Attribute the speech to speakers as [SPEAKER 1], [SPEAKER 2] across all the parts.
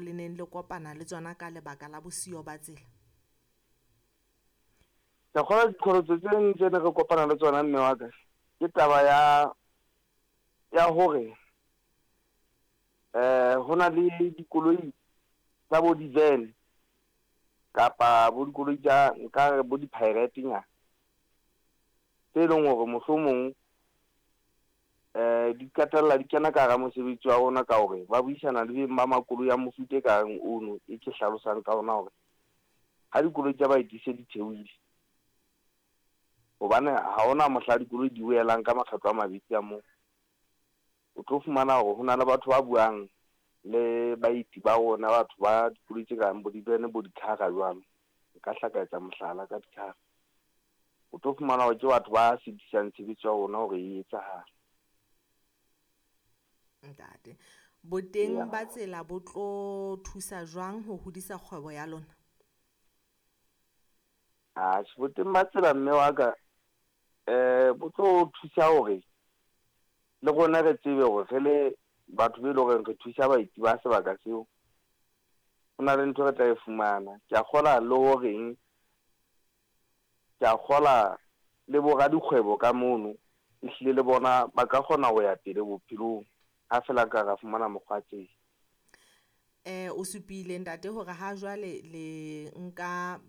[SPEAKER 1] le neng le kopana le tsona ka lebaka la bosiyo ba tsela?
[SPEAKER 2] Ke kgolwa diqholotso tse ding tse ne re kopana le tsona mme wa ka, ke taba ya ya hore ho na le dikoloi tsa bo di-van kapa bo dikoloi tsa nka re bo di-pirate nyana tse leng hore mohlomong di qetella di kena ka hara mosebetsi wa rona ka hore ba buisana le beng ba makoloi a mofuta e kareng ono e ke hlalosang ka ona hore ha dikoloi tsa baeti se di theohile, hobane ha hona mohla dikoloi di boelang ka makgetlo a mabedi a moo, o tlo fumana hore ho na le batho ba buang le baeti ba rona, batho ba dikoloi tse kang bo di-van bo di-car jwalo. Nka hla ka etsa mohlala ka di-car. O tlo fumana hore ke batho ba sitisang tshebetso ya rona hore e etsahale.
[SPEAKER 1] Ntate, boteng ba tsela bo tlo thusa jwang ho hodisa kgwebo ya lona?
[SPEAKER 2] Atjhe, boteng ba tsela mme wa ka bo tlo thusa hore le rona re tsebe hore re le batho be leng hore re thusa baeti ba sebaka seo, ho na le ntho re tla e fumana. Ke a kgola le horeng, ke a kgola le bo radikgwebo ka mono, ehlile le bona ba ka kgona ho ya pele bophelong ha feela ka ra fumana mokgwa tsela.
[SPEAKER 1] O supile ntate hore ha jwale le nka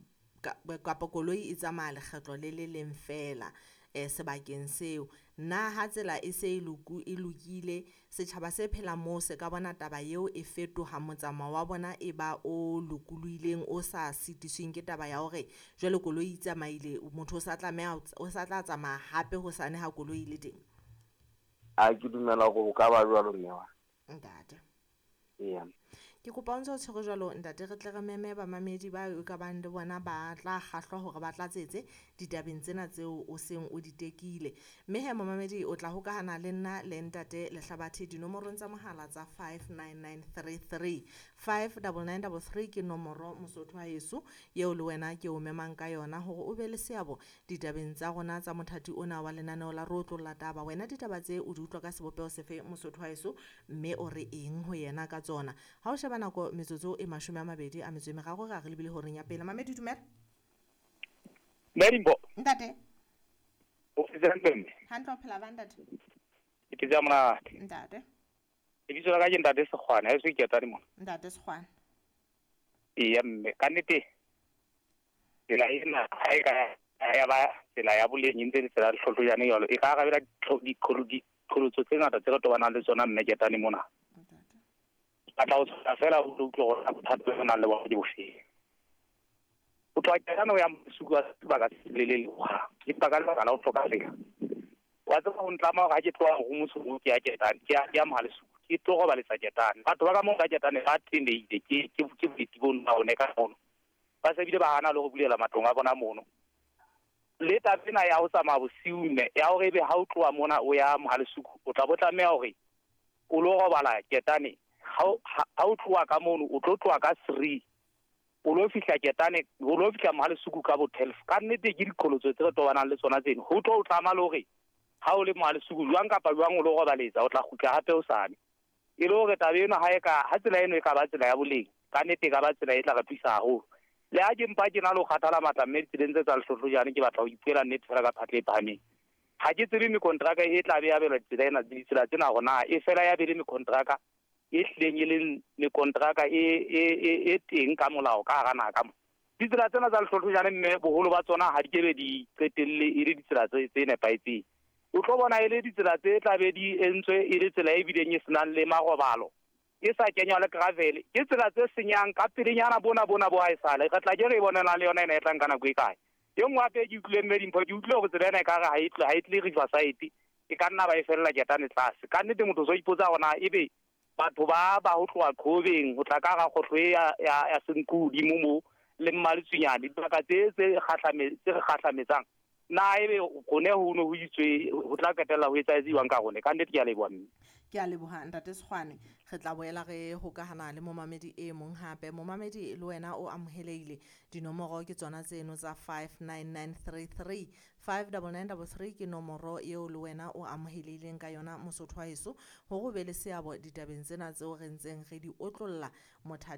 [SPEAKER 1] kapa koloi e tsamaya lekgetlo le le leng feela sebakeng seo. Na ha tsela e se e e lokile, setjhaba se phelang moo se ka bona taba eo e fetoha motsamao wa bona e ba o lokolohileng, o sa sitisweng ke taba ya hore jwale koloi e tsamaile, motho o sa tlameha o sa tla tsamaya hape hosane ha koloi e le teng?
[SPEAKER 2] A ke dumela hore ho ka ba jwalo mme wa.
[SPEAKER 1] Ntate.
[SPEAKER 2] Eya.
[SPEAKER 1] Ke kopa o ntse o tshwere jwalo ntate, re tle re meme bamamedi ba e ka bang le bona ba tla kgahlwa hore ba tlatsetse ditabeng tsena tseo o seng o di tekile. Mme he momamedi o tla hokahana le nna le ntate Lehlabathe dinomorong tsa mohala tsa 59933. 59933 ke nomoro Mosotho wa heso eo le wena ke o memang ka yona hore o be le seabo ditabeng tsa rona tsa mothati ona wa lenaneo la Re Otlolla Taba. Wena ditaba tse o di utlwa ka sebopeho sefe Mosotho wa heso, mme o re eng ho yena ka tsona? Ha o sheba nako metsotso e 23 re a re lebile horeng ya pele. Mamedi dumela.
[SPEAKER 3] Mme Dimpho.
[SPEAKER 1] Ntate.
[SPEAKER 3] O phetse hantle mme?
[SPEAKER 1] Hantle, o phela ba ntate?
[SPEAKER 3] Ke phetse ha monate.
[SPEAKER 1] Ntate.
[SPEAKER 3] Lebitso la ka ke Ntate Sekgwane, ha eso ke ketane mona.
[SPEAKER 1] Ntate Sekgwane.
[SPEAKER 3] Eya mme, ka nnete tsela ena ha e ka ya ba tsela ya boleng e ntse le tsela ya lehlohlojane jwalo, e ka arabela diqholotso tse ngata tse re tobanang le tsona mme ketane mona.
[SPEAKER 1] Ntate.
[SPEAKER 3] Batla ho tshwana fela o utlwe hore na bothata bo nang le bona ke bofeng. Ho tloha ketane ho ya Masuku wa sebaka se lelele hohang, empa ka lebaka la ho hloka tsela. Wa tseba ho ntlama hore ha ke tloha ho Mosotho ke ya Ketane, ke ya Mohalesuku, ke tlo robaletsa Ketane. Batho ba ka moo ka Ketane ba tenehile ke ke boeti bono ba one ka mono. Ba se bile ba hana le ho bulela matlong a bona mono. Le taba ena ya ho tsamaya bosiu mme, ya hore ebe ha o tloha mona o ya Mohalesuku, o tla bo tlameha hore o lo robala Ketane. Ha o tloha ka mono, o tlo tloha ka 3. O lo fihla Ketane, o lo fihla Mohalesuku ka bo 12. Ka nnete ke diqholotso tse re tobanang le tsona tseno. Ho tlo o tlama le hore ha o le Mohalesuku jwang kapa jwang o lo robaletsa, o tla kgutla hape hosane. E le hore taba eno ha e ka, ha tsela eno e ka ba tsela ya boleng, ka nnete e ka ba tsela e tla re thusa haholo. Le ha ke mpa ke na le ho kgathala matla mme ditseleng tse tsa lehlohlojane, ke batla ho ipuela nnete fela ka phatla e phahameng. Ha ke tsebe mekontraka e tla be abelwa ditsela ena, ditsela tsena hore na e fela ya be le mekontraka e hlileng e leng mekontraka e teng ka molao ka hara naha ka mo. Ditsela tsena tsa lehlohlojane mme boholo ba tsona ha di kebe di qetelle e le ditsela tse nepahetseng. O tlo bona e le ditsela tse tla be di entswe e le tsela e bileng e senang le marobalo, e sa kenywa le gravel. Ke tsela tse senyang ka pelenyana bona bona bo haesale. Re tla ke re e bonela le yona ena e tlang ka nako e kae. E nngwe hape ke utlwile mme Dimpho, ke utlwile hore tsela ena ekare ha e tle, ha e tle Riverside, e ka nna ba e fella Ketane tlase. Ka nnete motho o so ipotsa hore na ebe batho ba ba ho tloha Qhobeng ho tla ka hara kgohlo e ya Senqu hodimo moo le Mmaletswinyane, dibaka tse tse re kgahlametsang. Na ebe rone ho no ho itswe ho tla qetella ho etsahetse jwang ka rone? Ka nnete ke a leboha mme.
[SPEAKER 1] Ke a leboha ntate Sekgwane. Re tla boela re hokahana le momamedi e mong hape. Momamedi le wena o amohelehile. Dinomoro ke tsona tseno tsa 59933. 59933 ke nomoro eo le wena o amohelehileng ka yona mosotho wa heso, hore o be le seabo ditabeng tsena tseo re ntseng re di otlolla mothating.